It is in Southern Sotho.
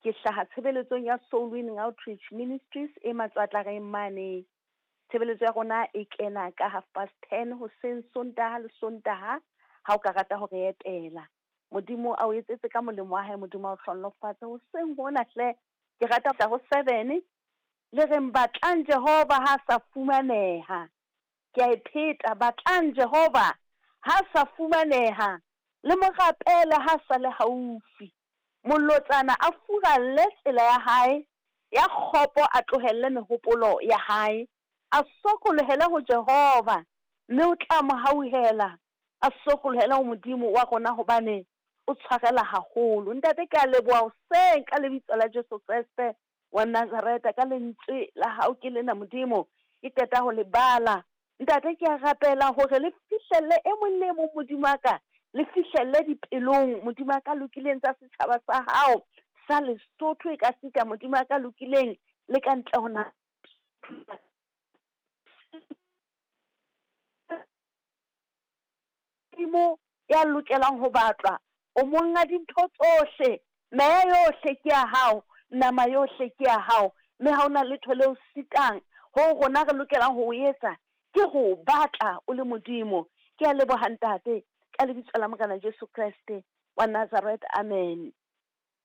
Ke hlaha tshebeletsong ya Soul Winning Outreach Ministries e Matswatlareng mane. Tshebeletso ya rona e kena ka 10:30 hoseng Sontaha le Sontaha ha o ka rata ho re etela. Modimo a o etsetse ka molemo wa hae, Modimo a o hlohonolofatse hoseng hona hle. Ke rata ho 7 le reng batlang Jehova ha sa fumaneha. Ke a e pheta, batlang Jehova ha sa fumaneha, le mo rapele ha sa le haufi. Molotsana a furalle tsela ya hae, ya kgopo a tlohelle mehopolo ya hae, a sokolohele ho Jehova, mme o tla mo hauhela, a sokolohele ho Modimo wa rona hobane o tshwarela haholo. Ntate, ke a leboha hoseng ka lebitso la Jesu Kreste wa Nazareta, ka lentswe la hao ke lena Modimo, ke qeta ho le bala. Ntate, ke a rapela hore le fihlelle e mong le e mong, Modimo wa ka, le fihlelle dipelong, Modimo wa ka lokileng, tsa setjhaba sa hao sa Lesotho, e ka sita, Modimo wa ka lokileng, le ka ntle ho naha. Modimo ya lokelang ho batlwa, o monga dintho tsohle, meya yohle ke ya hao, nama yohle ke ya hao, mme ha ona letho leo sitang. Ho rona re lokelang ho o etsa ke ho batla o le Modimo. Ke a leboha Ntate, ka lebitso la Morena Jesu Kreste wa Nazareth, amen.